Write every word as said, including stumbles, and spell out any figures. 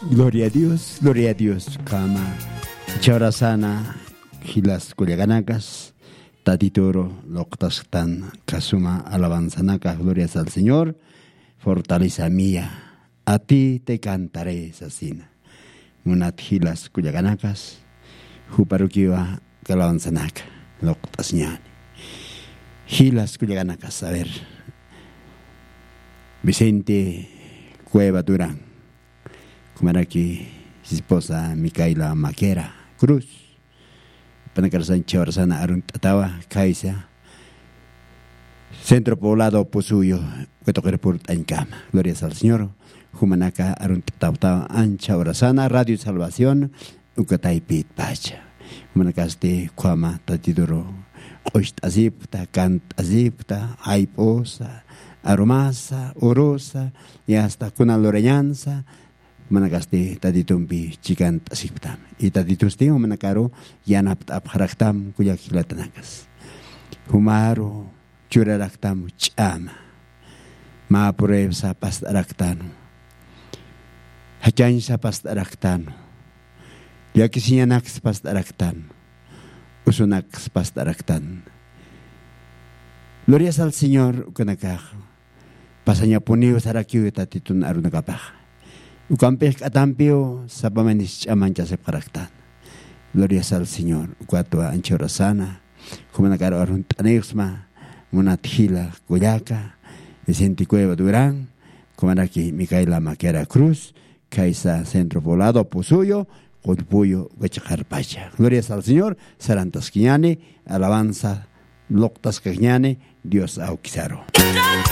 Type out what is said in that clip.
Gloria a Dios, gloria a Dios. Kama chawrasana, jilas kullakanakas, tatituru luqtasktan kasuma alabanzanaka, glorias al Señor. Fortaleza mía, a ti te cantaré, sasina. Munat jilas kullakanakas, juparukiwa kalabanzanaka luqt'asñani. Jilas kullakanakas, a ver, Vicente Cueva Durán, kumaraki esposa Micaela Maquera Cruz, panakarasan chawrasana arunt'atawa, kaysa Centro Poblado Pusuyo, katuqir purt'añkama. Glorias al Señor. Jumanaka arunt'atawtawa ancha urasana Radio Salvación, ukataypit pacha. Jumanakasti ukhama tatituru q'ucht'asipkta, kant'asipkta, jayp'usa, arumasa, urusa, y hasta kuna lurañansa, jumanakasti tatitumpi chikant'asipktam. Y tatitusti jumanakaru yanapt'apxaraktam, kullak jilatanakas. Jumaru churaraktam ch'ama. Mä pruebsa past'araktanu. Jachañsa past'araktanu. Llakisiñanaksa past'araktanu. Usunaksa past'araktan. Glorias al Señor, ukanakax pasañapuniw sarakiw tatitun arunakapax. Ukampix k'atampiw sapamanis ch'amañchasipxaraktan. Glorias al Señor. Ukatwa ancha urasana, jumanakar arunt'anïxsma, munat jila kullaka Vicente Cueva Durán, jumanaki Micaela Maquera Cruz, kaysa Centro Poblado Pusuyo, Qullpuyo, Huachqarpacha. Glorias al Señor. Sarantaskiñani, alabanza luqtaskañani Dios awkisaru.